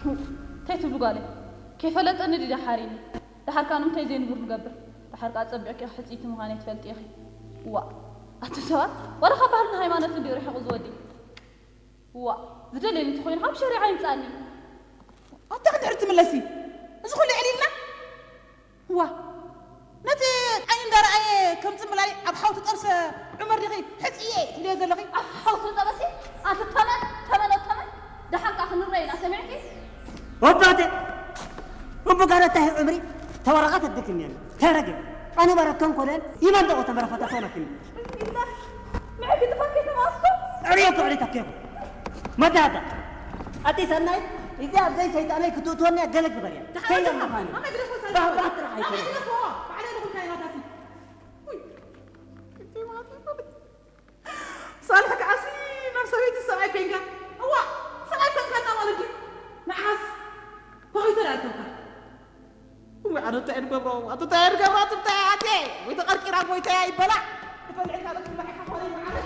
እንታይ ትብሉ ጓለይ? ከይፈለጠኒ ድዩ ሓሪኒ? ደሓር ካን እንታይ ዘይንቡር ንገብር? ደሓር ከኣ ጸቢቕኪ ሕጽይቲ ምዃነይ ትፈልጢ ኢኺ። ዋ፣ ኣቲ ሰባት፣ ዋላ ካብ ባህልን ሃይማኖትን ድዩ ርሒቑ ዝወዲ? ዋ፣ ዝደልየኒ እንተኾይኑ ካብ ሸሪዓ ይምጻኒ። ኣታ ክንድሕር ትምለሲ? እዚ ኩሉ ዕሊልና? ዋ፣ ነቲ ዓይኒ እንዳረኣየ ከም ጽምላይ ኣብ ሓውቲ ጠብሰ ዑመር ዲኺ ሕጽየ ትብልዮ ዘለኺ? ኣብ ሓውቲ ጠበሲ? ኣቲ ተመን፣ ተመን፣ ተመን። ደሓር ከኣ ክንረኣይ ኢና፣ ሰሚዕኪ? ወባተ! እቡ ጋር እንታይ ዑምሪ ተወረቐት እድክም የለ። ተረገ። ኣነ በረከን ኮለል ይመንደቑ ተመረፈታ ተወለክም። ብስሚላህ። ምዕግ ጥፋት ከተማስኩም? ዕርዮ ክዕሪ ተኬኹ። መዳዳ። ኣቲ ሰናይ፣ እዚ ኣብ ዘይ ሰይጣነይ ክትእትወኒ ገለ ግበር እያ። ተሓወጀኻ። ከይነ ምዃኑ። ኣመ ግደፎ ሰናይ። ባህራት ጥራሕ ኣይኮነን። ኣመ ግደፎ። ባዕለይ ንኹልካ ይባታሲ። ውይ። እቲ ማቲ። ሳልሕ ከዓሲ ናብ ሰበይቲ ሰብኣይ ኮይንካ። እዋ፣ ሰብኣይ ኮንካና ማለት ድዩ? መዓስ? በኸይተ ዳኣ ኮንካ? እዋ፣ ኣነ እንታይ እየ ዝገብሮ? ኣነ እንታይ እየ ዝገብሮ? ኣነ እንታይ እየ ኣትየ? ወይ ተቐርቂራ ሞይታ እያ ይበላዕ። ትፈልዕካ ዶ ትብላዕ ኢኻ ኾነ መዓለይ?